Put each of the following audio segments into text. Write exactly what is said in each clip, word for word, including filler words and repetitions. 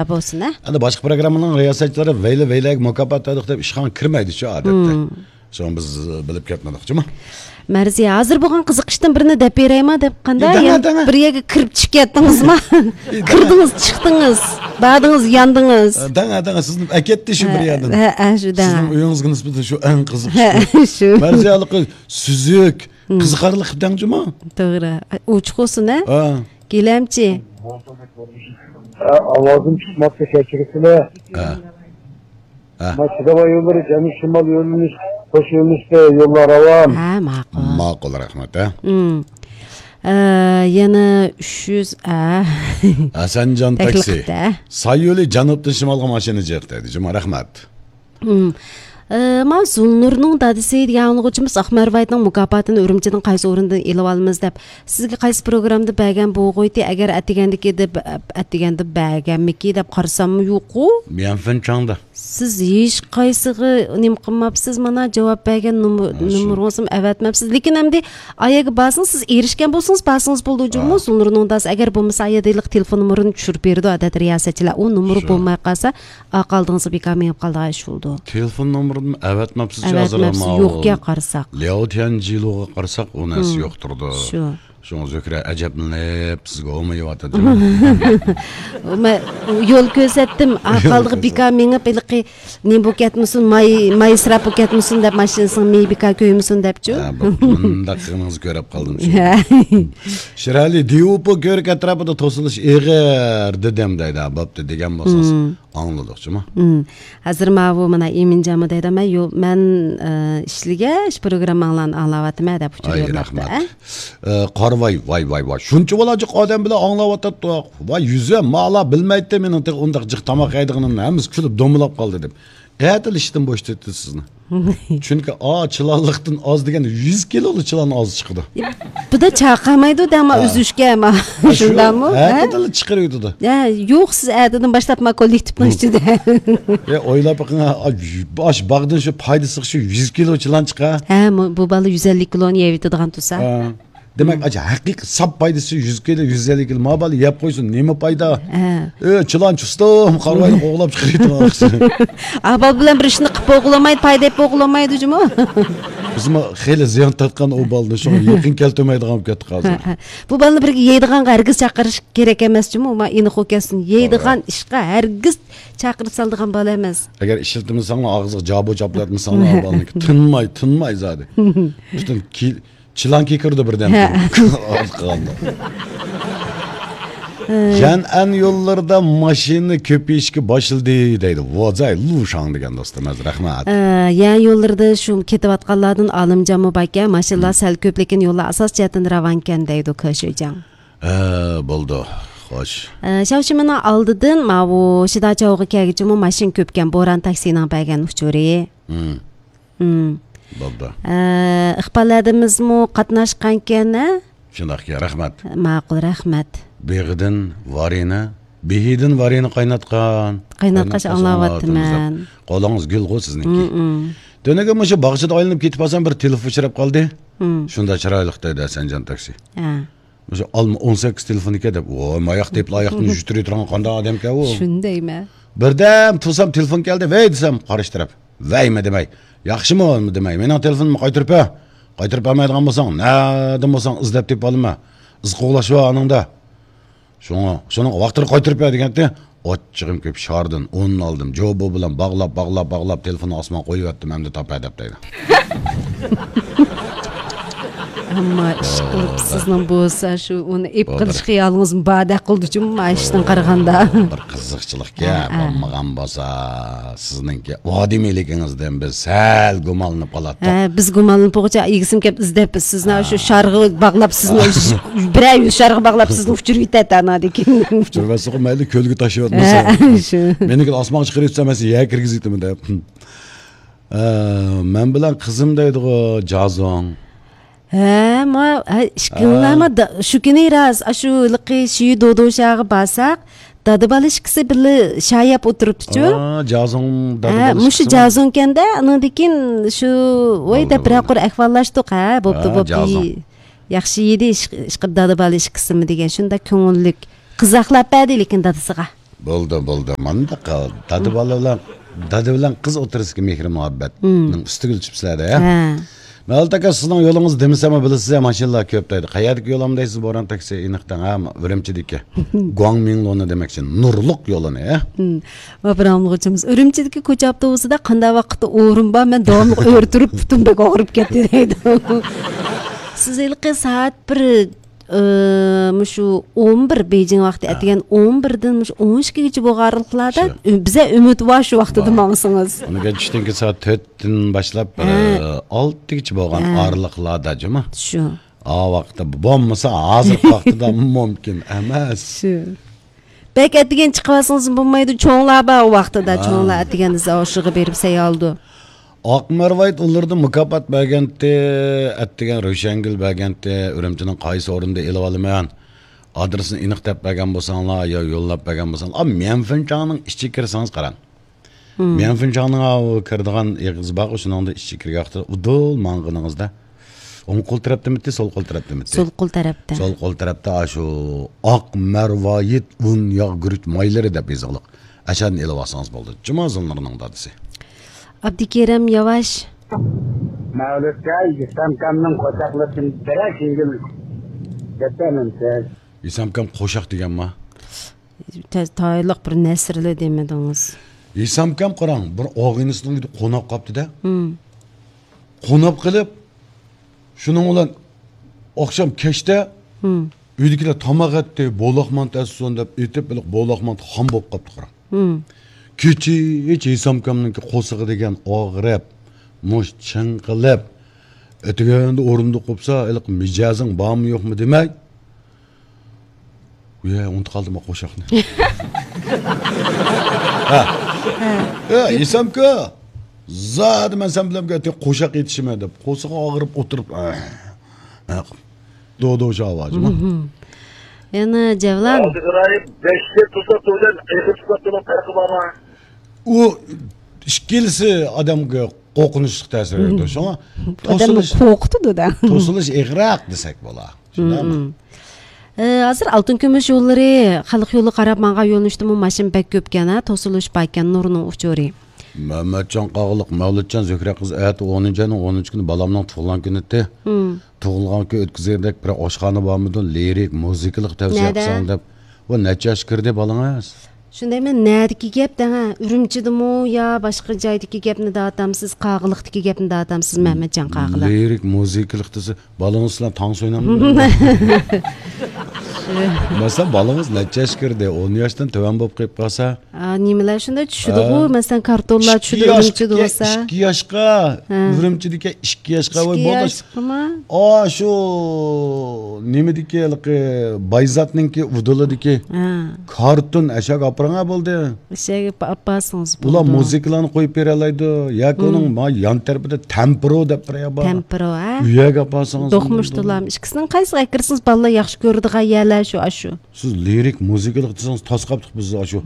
بولسۇن، ھە؟ ئەمدى باشقا پروگراممىنىڭ رىياسەتچىلىرى ۋەيلە ۋەيلەگە مۇكاپات بەردۇق دەپ ئىشخانىغا كىرمەيدىچۇ، ئادەتتە. مم. شۇڭا بىز بىلىپ كەتمىدۇق، جۇمۇ. مەرزىيە، ھازىر بولغان قىزىقىشتىن بىرنى دەپ بېرەيما دەپ قانداق؟ دەڭە، يەنە دەڭە. بىر يەرگە كىرىپ چۈشۈپ كەتتىڭىزما؟ دەڭە. كىردىڭىز، چىقتىڭىز، باردىڭىز، ياندىڭىز. دەڭە، دەڭە، سىزنى ئەكەتتى شۇ بىر يەردىن. ھە، ھە، شۇ دەڭە. سىزنىڭ ئۆيىڭىزگە نىسبەتەن شۇ ئەڭ قىزىقىشلىق. ھە، شۇ. مەرزىيە ھېلىقى سۈزۈك، قىزىقارلىق دەڭ جۇمۇ. توغرا. ئوچۇق بولسۇن، ھە؟ ھە. گېلەمچى. ھە، ئاۋازىم چىقماپتۇ، كەچۈرۈسىلەر. ھە. ھە. ما چىداۋاي يوللىرى جەنۇب شىمال يۆنىلىش، قوش يۆنىلىشتە يوللار راۋان. ھە، ماقۇل. ماقۇل، رەھمەت، ھە. ئۇم. ئە، يەنە ئۈچ يۈز، ئە. ھەسەنجان تەكلىپ تاكسى. قىپتۇ، ھە. ساي يولى جەنۇبتىن شىمالغا ماشىنا جىق دەيدۇ. جۇمۇ، رەھمەت. ئۇم. ئە، ما زۇلنۇرنىڭ دادىسى دېگەن ئاڭلىغۇچىمىز ئاقمەر ۋايتنىڭ مۇكاپاتىنى ئۈرۈمچىدىن قايسى ئورۇندىن ئېلىۋالىمىز دەپ، سىزگە قايسى پروگراممىدا بەرگەن بولغۇيتى، ئەگەر ئەتىگەندىكى دەپ، ئەتىگەندە بەرگەنمىكى دەپ قارىساممۇ يوقۇ؟ ميەنفېن چاڭدا. سىز ھېچقايسىغا نېمە قىلماپسىز، مانا جاۋاب بەرگەن نومۇر-، ھە، شۇ. نومۇرىڭىزمۇ ئەۋەتمەپسىز. لېكىن ئەمدى ئايەگە بارسىڭىز، سىز ئېرىشكەن بولسىڭىز، بارسىڭىز بولىدۇ جۇمۇ، ھە. زۇلنۇرنىڭ دادىسى. ئەگەر بولمىسا، ئايەدە ھېلىقى تېلېفون نومۇرىنى چۈشۈرۈپ بېرىدۇ، ئادەتتە رىياسەتچىلەر. ئۇ نومۇر شۇ. بولماي قالسا، ئارقا ئالدىڭىزغا بىكار مېڭىپ قالىدىغان ئىش بولىدۇ. تېلېفون نومۇرىنى ئەۋەتمەپسىز، ئەۋەتمەپسىز، يوقكەن قارىساق. لياۋ تيەنجىلۇغا قارىساق، ئۇ نەرسە يوقتۇردى. شۇ. شۇڭا زۆھرە ئەجەبلىنىپ سىزگە ھومىيىۋاتىدۇ. مە-، يول كۆرسەتتىم، ئارقا ئالدىغا بىكار مېڭىپ، ھېلىقى نېمە بولۇپ كەتمىسۇن، ماي، ماي ئىسراپ بولۇپ كەتمىسۇن دەپ، ماشىنىسىنىڭ مېيى بىكار كۆيمىسۇن دەپچۇ. ھە، بۇ، مۇنداق قىلغىنىڭىزنى كۆرۈپ قالدىم شۇ. ھە. شىرئەلى، دىۋۇپۇ كۆۋرۈك ئەتراپىدا توسۇلۇش ئېغىر دېدىم دەيدۇ. بوپتۇ دېگەن بولسىڭىز. مم. ئاڭلىدۇق جۇمۇ. مم. ھازىر ماۋۇ مانا ئىمىنجانمۇ دەيدۇ، مەن يو-، مەن، ئە، ئىشلىگەچ پروگرامماڭلارنى ئاڭلاۋاتىمەن دەپ ئۇچۇر ئاي، يوللاپتۇ، رەھمەت. ئە؟ ئە، قارىۋاي، ۋاي، ۋاي، ۋاي. شۇنچە بالاجىق ئادەم بىلەن ئاڭلاۋاتاتتۇق. ۋاي، يۈزۈم، مالا بىلمەيتتى، مېنىڭ تېخى ئۇنداق جىق تاماق يەيدىغىنىمنى. ھەممىسى كۈلۈپ دومىلاپ قالدى دەپ. ئەتىلا ئىشتىن بوشىتىۋېتىدۇ سىزنى. چۈنكى ئا، چىلانلىقتىن ئاز دېگەندە يۈز كىلولۇق چىلان ئاز چىقىدۇ. بۇدا چاقىرمايدۇ دەڭ، ما ھە. ئۈزۈشكە، ما. ھە، شۇ، شۇنداقمۇ؟ ھە؟ ئەتىدىلا چىقىرىۋېتىدۇ. ھە، يوق، سىز ئەتىدىن باشلاپ ما كوللېكتىپنىڭ ئىچىدە. يا، ئويلاپ بېقىڭ، ھە، ئاش باغدىن شۇ پايدىسىغا شۇ يۈز كىلو چىلان چىقا. ھە، مو-، بۇ بالا يۈز ئەللىك كىلونى يەۋېتىدىغان تۇرسا. ھە. دېمەك، ئاچا ھەقىقىي ساپ پايدىسى يۈز كىلو، يۈز ئەللىك كىلو. ما بالا يەپ قويسۇن، نېمە پايدا؟ ھە. ئۆ، چىلان چۇستۇم، قارىۋاينى قوغلاپ چىقىرىۋېتىڭ. ئا، بالا بىلەن بىر ئىشنى قىلىپ بولغۇلىمايدۇ، پايدا ئېلىپ بولغۇلىمايدۇ جۇمۇ. بىزمۇ خېلى زىيان تارتقان ئۇ بالىنى، شۇڭا يېقىن كەلتۈرمەيدىغان بولۇپ كەتتۇق ھازىر. ھە، ھە. بۇ بالىنى بىرگە يەيدىغانغا ھەرگىز چاقىرىش كېرەك ئەمەس جۇمۇ. ما ئېنىق ئۇ كەلسۇن. يەيدىغان توغرا. ئىشقا ھەرگىز چاقىرىپ سالىدىغان بالا ئەمەس. ئەگەر ئىشلىتىمساڭلار، ئاغزىغا جابۇ چاپلىۋەتمىسەڭلار، ئا بالىنى تىنماي، تىنماي زادى. پۈتۈن كى-، چىلان كېكىرىدۇ بىردەم. ھە. ئارقىغا. جەنئەن يوللىرىدا ماشىنا كۆپىيىشكە باشلىدى دەيدۇ. ۋازاي لۇشاڭ دېگەن دوستىمىز، رەھمەت. ئە، يەنئەن يوللىرىدا شۇ كېتىۋاتقانلاردىن ئالىمجانمۇ باركەن. ماشىنىلار سەل كۆپ، لېكىن يوللار ئاساسىي جەھەتتىن راۋانكەن دەيدۇ كېشۈجاڭ. ھە، بولدى. خوش. ئە، شاۋشىمىنىڭ ئالدىدىن ماۋۇ شىداچاۋغا كەلگۈچىمۇ ماشىنا كۆپكەن، بوران تاكسىنىڭ بەرگەن ئۇچۇرى. ھىم. ھىم. بولدى. ئە، ئىقبال ھەدىمىزمۇ قاتناشقانكەن، ھە؟ شۇنداقكەن، رەھمەت. ماقۇل، رەھمەت. بېغىدىن ۋارىنە، بېھىدىن ۋارىنە قايناتقان. قايناتقاچ قايناتقاچ ئاڭلاۋاتىمەن. ئاڭلاۋاتىمىز دەپ. قولىڭىز گۈل غۇ سىزنىڭكى. ھىم، ھىم. تۈنۈگۈن مۇشۇ باغچىدا ئايلىنىپ كېتىپ قالسام، بىر تېلېفون ئۇچراپ قالدى. ھىم. شۇنداق چىرايلىق دەيدۇ ھەسەنجان تاكسى. ھە. مۇشۇ ئالما ئون سەككىز تېلېفون ئىكەن دەپ، ۋاي، ماياق دەپلا ئاياقتىن يۈتتۈرۈۋېتىدىغان قانداق ئادەمكەن ئۇ؟ شۇنى دەيمەن. بىردەم تۇرسام تېلېفون كەلدى، ۋەي دېسەم، قارشى تەرەپ، ۋەيمۇ دېمەي، ياخشىمۇ دېمەي، مېنىڭ تېلېفونۇمنى قايتۇرۇپ بەر. قايتۇرۇپ بەرمەيدىغان بولساڭ، نەدىن بولساڭ ئىزدەپ تېپىپ ئالىمەن. ئىز قوغلاش بار ئانىڭدا. شۇڭا، شۇنىڭ ۋاقتىدا قايتۇرۇپ بەر دېگەنتى. ئاچچىقىم كېلىپ شاردىن ئۇننى ئالدىم. جوبو بىلەن باغلاپ، باغلاپ، باغلاپ، تېلېفوننى ئاسمانغا قويۇۋەتتىم، ئەمدى تاپە دەپ دەيدۇ. ئەمما ئىشقىلىپ سىزنىڭ بولسا شۇ ئۇنى ئېپ قىلىش خىيالىڭىزمۇ باردەك قىلدى جۇمۇ، مانا ئىشتىن قارىغاندا. بىر قىزىقچىلىقكەن، ھە، ھە. بولمىغان بولسا سىزنىڭكى ئادىمىيلىكىڭىزدىن بىز سەل گۇمانلىنىپ قالاتتۇق. ھە، بىز گۇمانلىنىپ بولغۇچە ئىگىسىمۇ كەپ ئىزدەپ سىزنى شۇ شارغا باغلاپ سىزنى بىرەر يۈز شارغا باغلاپ سىزنى ئۇچۇرۇۋېتەتتى ئانادىكىن. ئۇچۇرۇۋەتسىغۇ مەيلى كۆلگە تاشلىۋەتمىسە. ھە، شۇ. مېنىڭكىنى ئاسمانغا چىقىرىۋېتسە مەن سىزنى يەرگە كىرگۈزۈۋېتىمەن دەپ. ئە، مەن بىلەن قىزىم دەيدىغۇ جازۇڭ. ھە، ما، ھە، ئىككىڭلارمۇ دا-، شۇ كۈنى راست، ئاشۇ ھېلىقى شىيۈ دودۇشاغا بارساق، دادا بالا ئىككىسى بىللە شاي يەپ ئولتۇرۇپتۇچۇ. ئا، جازۇڭ، دادا ھە، بالا مۇشۇ ئىككىسىمۇ؟ جازۇڭكەندە، ئانىڭدىن كېيىن شۇ، ۋاي بولدى، دەپ بىرەر بولدى. قۇر ئەھۋاللاشتۇق، ھە، بوپتۇ، ھە، بوپتۇ. جازۇڭ. ياخشى يېدى، ئىش-، ئىشقىلىپ دادا بالا ئىككىسىمۇ دېگەن، شۇنداق كۆڭۈللۈك. قىزاقلاپ بەردى لېكىن دادىسىغا. بولدى، بولدى. مانداق دادا بالا بىلەن، دادا بىلەن قىز ئوتتۇرىسىدىكى مېھرى مۇھەببەتنىڭ ئۈستىگە ئۆتۈپسىلەر-دە. ھە. مەۋلۇت ئاكا، سىزنىڭ يولىڭىز دېمىسەممۇ بىلىسىز، ماشىنىلار كۆپ دەيدۇ. قەيەردىكى يول دەيسىز، بوران تاكسى، ئېنىق دەڭ، ھە، ئۈرۈمچىدىكى گۇاڭمىڭلۇنى دېمەكچى، نۇرلۇق يولىنى، ھە؟ ھىم. ئاپىرىڭغۇچىمىز، ئۈرۈمچىدىكى كوچا ئاپتوبۇسىدا قانداق ۋاقىتتا ئورۇن بار؟ مەن داۋاملىق ئۆرە تۇرۇپ پۇتۇم بەك ئاغرىپ كەتتى دەيدۇ. سىز ھېلىقى سائەت بىر ئى، مۇشۇ ئون بىر، بېيجىڭ ۋاقتى ئەتىگەن ئون بىردىن مۇشۇ ئون ئىككىگىچە بولغان ئارىلىقلاردا شۇ. ئۈ-، بىزە ئۈمىد بار شۇ ۋاقتىدا بار. ماڭسىڭىز. ئۇنىڭ كېيىن چۈشتىن كېيىن سائەت تۆتتىن باشلاپ، ھە. ئى، ئالتىگىچە بولغان ھە. ئارىلىقلاردا جۇمۇ. شۇ. ئا ۋاقىتتا بولمىسا ھازىرقى ۋاقتىدا مۇمكىن ئەمەس. شۇ. بەك ئەتىگەن چىقىۋالسىڭىز بولمايدۇ، چوڭلار بار ئۇ ۋاقتىدا، ھە. چوڭلار ئەتىگەن ئىزا ئوشۇغا بېرىپ سەييالدۇ. ئاق مەرۋايىت ئۇلىرىدا مۇكاپات بەرگەنتى، ئەتىگەن روشەنگۈل بەرگەنتى، ئۈرۈمچىنىڭ قايسى ئورنىدا ئېلىۋالىمەن؟ ئادرېسىنى ئېنىق دەپ بەرگەن بولساڭلار يا يوللاپ بەرگەن بولساڭلار، ئا، ميەنفېنچاڭنىڭ ئىچىگە كىرسىڭىز قاراڭ. ميەنفېنچاڭنىڭ ئاۋۇ كىرىدىغان ئېغىزى بارغۇ، شۇنىڭدا ئىچىگە كىرگەن ۋاقتىدا ئۇدۇل ماڭغىنىڭىزدا، ئوڭ قول تەرەپتىمىتى، سول قول تەرەپتىمىتى؟ سول قول تەرەپتە. سول قول تەرەپتە ئاشۇ ئاق مەرۋايىت ئۇن، ياغ، گۈرۈچ مايلىرى دەپ يېزىقلىق. ئەشەدىن ئېلىۋالسىڭىز بولدى. جۇما زۇننۇرنىڭ دادىسى. ئابدۇكېرىم ياۋاش. مەۋلۇتكە ئىسلامكامنىڭ قوشاقلىرىدىن بىرەر سىڭگىل دەپتەرنىمسىز؟ ئىسلامكام قوشاق دېگەنما؟ تە-، تايىنلىق بىر نەسرلەر دېمىدىڭىز. ئىسامكام قاراڭ، بىر ئاغىنىسىنىڭ ئۆيىدە قوناق قاپتىدە. قوناق قېلىپ، شۇنىڭ بىلەن ئاخشام كەچتە ئۆيدىكىلەر تاماق ئەتتى، بولاقمانت ئەتسۇن دەپ ئېتىپ، بولاقمانت خام بولۇپ قاپتۇ قاراڭ. كېچىچە ئىسامكامنىڭكى قورسىقى دېگەن ئاغرىپ، مۇش چىڭقىلىپ، ئەتىگەندە ئورۇندۇق قوپسا، ھېلىقى مىجەزىڭ بارمۇ يوقمۇ دېمەي، يە، ئۇنتۇپ قالدىم قوشاقنى. ھە. ھە. ئە، ئىسامكا، زادى مەن سەن بىلەن بىر قوشاق ئېتىشىمەن دەپ، قورسىقى ئاغرىپ ئولتۇرۇپ، ئە، ئە، دودوش ئاۋازىمۇ. يەنە جەۋلان. ھازىر بەش يىل توساتتۇ بىلەن ئېغىر توساتتۇنىڭ پەرقى بارمۇ؟ ئۇ ئىككىلىسى ئادەمگە قورقۇنچلۇق تەسىر بېرىدۇ. شۇڭا ئادەمنى توسۇلۇش، قورقۇتىدۇ-دە. توسۇلۇش ئېغىرراق دېسەك بولا. شۇنداقمۇ؟ ئى، ھازىر ئالتۇن كۈمۈش يوللىرى خەلق يولىغا قاراپ ماڭغان يۆنىلىشتىمۇ ماشىنا بەك كۆپكەن، ھە، توسۇلۇش باركەن، نۇرنىڭ ئۇچۇرى. مەمەتجان قاغىلىق، مەۋلۇتجان، زۆھرە قىز، ئەتە ئونىنچى ئاينىڭ ئونىنچى كۈنى بالامنىڭ تۇغۇلغان كۈنى. تۇغۇلغان كۈن ئۆتكۈزگەندەك بىر ئاشخانا بارمىدۇ؟ لىرىك، مۇزىكىلىق تەۋسىيە قىلساڭ دەپ. ۋە نەچچە ياشقا كىردى بالىڭىز؟ شۇندايمۇ، نەدىكى گەپ دەڭە؟ ئۈرۈمچىدىمۇ يا باشقا جايدىكى گەپنى دەۋاتامسىز، قاغىلىقتىكى گەپنى دەۋاتامسىز، مەمەتجان قاغىلىق؟ لىرىك مۇزىكىلىق دېسە، بالىڭىز بىلەن تانسا ئوينامدۇ؟ مەسىلەن، بالىڭىز نەچچە ياشقا كىردى؟ ئون ياشتىن تۆۋەن بولۇپ قېلىپ قالسا؟ ئا، نېمىلەر شۇنداق چۈشىدىغۇ؟ ھە. مەسىلەن، كارتونلار چۈشىدۇ ئۈرۈمچىدە بولسا. ئىككى ياشقا، ھە. ئۈرۈمچىدىكى ئىككى ياشقا، ۋاي، ئىككى بولدى. ياشقىمۇ؟ ئا، شۇ نېمىدىكى، ھېلىقى بايزاتنىڭكى ئۇدۇلىدىكى ھە. كارتون ئەشەگە ئاپىرىڭا بولدى. ئەشەگە ئاپ-، ئاپارسىڭىز بولىدۇ. ئۇلار مۇزىكىلارنى قويۇپ بېرەلەيدۇ. ياكى ئۇنىڭ ما يان تەرىپىدە تەمپىرو دەپ بىر يەر بار. تەمپىرو، ھە؟ ئۇ يەرگە ئاپارسىڭىز دوقمۇش بولىدۇ. تولام. ئىككىسىنىڭ قايسىغا كىرسىڭىز، بالىلار ياخشى كۆرىدىغان يەرلەر شۇ، ئاشۇ. سىز لىرىك مۇزىكىلىق دېسىڭىز، تاس قاپتۇق بىز ئاشۇ.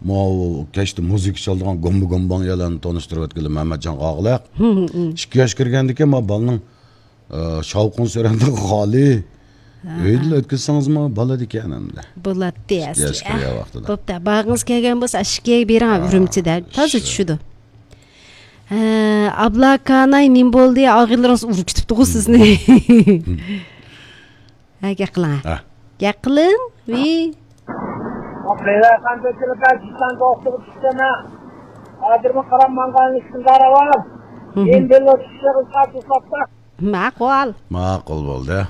ماۋۇ كەچتە مۇزىكا چالىدىغان گومبا گومباڭ يەرلەرنى تونۇشتۇرۇۋەتكىلى، مەمەتجان قاغىلىق. ئىككى ياش كىرگەندىكىن ما بالىنىڭ، ئە، شاۋقۇن سۈرەندە خالى. ئۆيدىلا ئۆتكۈزسىڭىزمۇ بولىدىكەن ئەمدى. بولاتتى ئەسلى. ئىككى ياش كىرگەن ۋاقتىدا. بوپتۇ، بارغىڭىز كەلگەن بولسا، ئىككىگە بېرىڭ، ئۈرۈمچىدە. تازا چۈشىدۇ. ھە، ئابلاكاناي، نېمە بولدى؟ ئاغىنىلىرىڭىز ئۇرۇپ كېتىپتىغۇ سىزنى. ھە، گەپ قىلىڭ. ھە. گەپ قىلىڭ. ۋى. خەيرخان بېكىلىكا جىسان دوختۇرغا چۈشتىمە. ھازىرمۇ قاراپ ماڭغان ئىشىڭلار ئاۋام. ماقۇل. ماقۇل بولدى.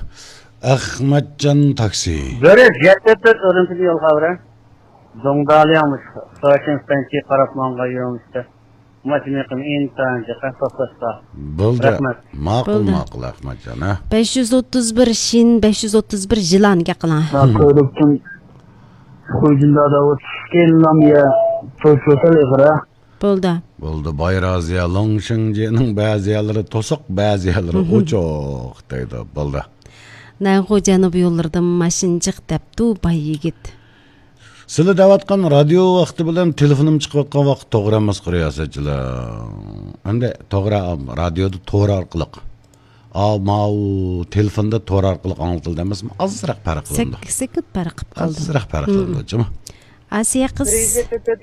ئەخمەتجان تاكسى. بىرى يەتتە تۆت ئۈرۈمچىدىن يول خەۋىرى. دۇڭدالياڭ مۇشۇ. سوشىن ستانسىيە قاراپ ماڭغان يۆنىلىشتە. ماشىنا يېقىن ئىنتايىن جىق توختاشقا. بولدى. رەھمەت. ماقۇل، بولدى. ماقۇل، ئەخمەتجان، ھە؟ بەش يۈز ئوتتۇز بىر شىن، بەش يۈز ئوتتۇز بىر يىلان گەپ قىلىڭ. ما كۆرۈكتىن خوجىندا داۋۇت كېلىنلام يە توشۇتال ئېغىرە. بولدى. بولدى. بايرازىيە لوڭشىڭجىنىڭ بەزى يەرلىرى توسۇق، بەزى يەرلىرى ئوچۇق دەيدۇ. بولدى. نەنخۇ جەنۇبىي يوللىرىدا ماشىنا جىق دەپتۇ باي يىگىت. سىلەر دەۋاتقان رادىيو ۋاقتى بىلەن تېلېفونۇم چىقىۋاتقان ۋاقىت توغرا ئەمەسقۇ، رىياسەتچىلەر. ئەمدى توغرا، رادىيودا تور ئارقىلىق. ئا، ماۋۇ تېلېفوندا تور ئارقىلىق ئاڭلىتىلدى ئەمەسمۇ؟ ئازراق پەرق قىلىنىدۇ. سەككىز سېكۇند پەرق قىلىپ قالدى. ئازراق پەرق قىلىنىدۇ، جۇمۇ. ئاسىيە قىز. بىر يۈز يەتمىش تۆت